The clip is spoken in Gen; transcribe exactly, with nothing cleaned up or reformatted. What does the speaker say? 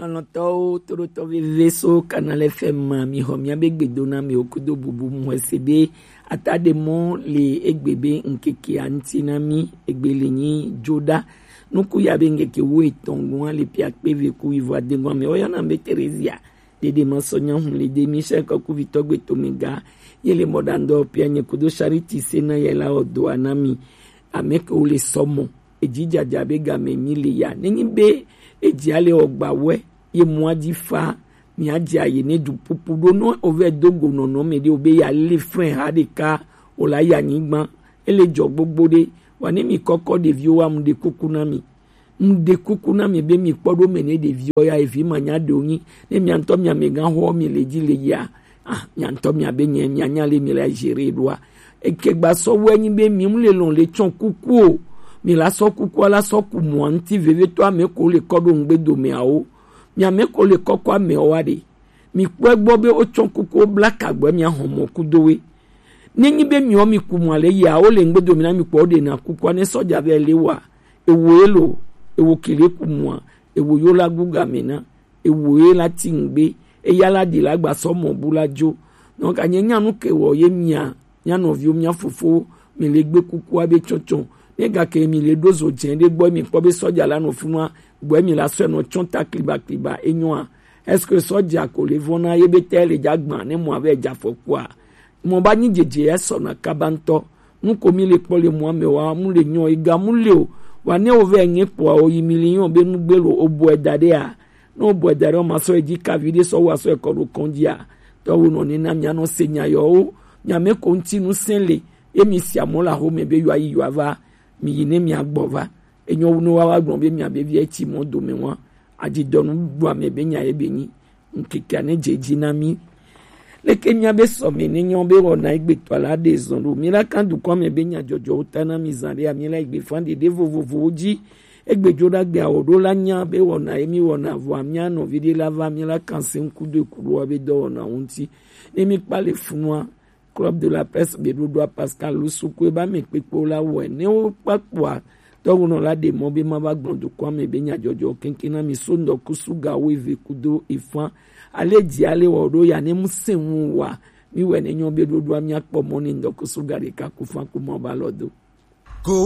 Lɔlɔ̃tɔwo, toɖotɔ veve so Canal F M ma, mi xɔ mía be gbedo na mi wo kudo bubu mu xɔse be atade mɔ le egbe be ŋkeke a ŋuti na mi, egbe le nyi joɖa. Nuku ya be ŋkeke wo etɔn gɔn le pia kpe ve ku ivo adeŋgɔn me. Oyɔna be Terezia, dede ma sɔ nya hun le de mi sɛ kɔku vitɔ gbe to mi ga. Ye le mɔ ɖa ŋdɔ pia nye kudo Charity se na ye la o do a na mi. Ame ke wo le sɔ mɔ. Eji jaja be game mi le ya. Nenyi be eji ale ɔgba wɛ, ye mɔ aji fa, mi aji aye ne du pupu ɖo nɔ ove do go nɔnɔ me ɖe o be ya le frɛn ha ɖeka o la ya nyigban. Ele jɔ gbogbo ɖe. Wa ne mi kɔkɔ ɖeviwo wa mu ɖe kuku na mi. Mu ɖe kuku na mi be mi kpɔ ɖo me ne ɖeviwo ya evi ma nya ɖe o nyi. Ne mia ŋutɔ mia me gan xɔ mi le ji le ya. Ah, mia ŋutɔ mia be nye mia nya le mi la gérer ɖoa. Eke gba sɔ wɛ nyi be mi mu le lɔn le tsɔn kuku o. Mi la sɔ kuku la sɔ ku mɔ ŋuti vevetɔ ame ko le kɔ ɖo ŋgbe dome awo. Mi ame ko le kɔkɔ ame wa ɖe. Mi kpɔe gbɔ be wotsɔ kuku bla kagbɛ mia hɔn mɔ kudo we. Nenyi be miɔ mi ku mɔ le ya wo le ŋgbe dome na mi kpɔ ɖe na kuku ne sɔja be le wa. Ewo elo, ewo kele ku mɔ, ewo yo la guga me na. Ewo ye la ti ŋgbe, eya la ɖi la gba sɔ mɔ bu la dzo. Donc anye nya nu ke wɔ ye mia, mia nɔviwo, mia fofowo, mi le gbe kukua be tsɔtsɔ. Ne gake mi le ɖo zo dze ɖe gbɔ mi kpɔ be sɔja la nɔ funua, gbɔ mi la sɔ nɔ tsɔ ta kliba kliba enyoa. Est-ce que sɔja ko le vɔna ye be te le dza gba ne mɔ ave dza fɔkua? Mɔ ba nyi dzedze esɔ na kaba ŋutɔ. Nu ko mi le kpɔ le mɔ ame wa mu le nyɔ ega mu le o. Wa ne wo ve nye kpɔ o yi mi le nyɔ be nu gbe lo o bɔ da ɖe a. Ne o bɔ da ɖe o ma sɔ edzi kavi ɖe sɔ wa sɔ ekɔ ɖo kɔn dzi a. Tɔ wo nɔ ne na mia nɔ se nya yɔ o. Mia me ko ŋuti nu se le. Ye mi si amɔ la xo me be yɔ ayi yɔ ava. Mi yi ne mia gbɔ va. Enyo wu ne wa wa gblɔ be mia be vi etsi mɔ dome wa. Adzidɔnu ɖu ame be nya ye be nyi. Ŋkeke ne dze dzi na mi. Leke mia be sɔme ne nyɔ be wɔna egbetɔ la ɖe zɔn ɖo. Mi la kan dukɔ me be nya dzɔdzɔwo ta na mi zan ɖe mi la egbe fan ɖeɖe vovovowo dzi. Egbe dzo ɖa gbe awo ɖo la nya be wɔna ye mi wɔna vɔa mia nɔvi ɖe la va mi la kan se ŋku do eku ɖoa be dɔwɔna wo ŋuti. Ne mi kpa le funua, Club de la Presse be ɖoɖoa Pascal Lusuku eba me kpekpewo la wɔe ne wo kpakpoa tɔwonɔ la ɖe mɔ be ma va gblɔ dukɔa me be nyadzɔdzɔ keŋkeŋ na mi so ŋdɔkusu ga wo eve kudo efan. Ale dzi ale wɔ ɖo ya ne mu se ŋu wa mi wɛ ne nyɔ be ɖoɖoa mia kpɔ mɔ ne ŋdɔkusu ga ɖeka ku fan ku mɔ ba lɔ do.